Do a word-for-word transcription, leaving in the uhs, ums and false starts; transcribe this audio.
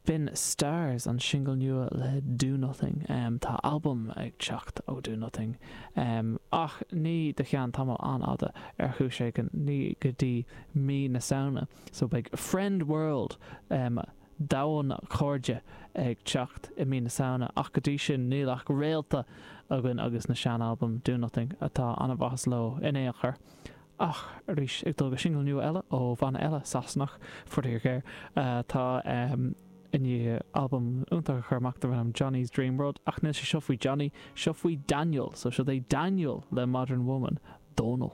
B'in Stars, an singil nua le Do Nothing. Tá albam ag teacht ó Do Nothing, ach ní go ceann tamall an-fhada ar chúis éigin, ní go dtí mí na Samhna. So beidh Friend World, Domhan Cairde, ag teacht i mí na Samhna, ach go dtí sin níl ach réalta againn agus na sean-albaim Do Nothing atá an-mhaitheas leo in aon chor. Ach arís, ag dul go singil nua eile ó bhanna eile Sasanach, faraor géar, atá i ndiaidh albam iontach a chur amach darb ainm Johnny's Dream World, ach níl sé seo faoi Johnny, seo faoi Daniel, so seo é Daniel le Modern Woman, Dónal.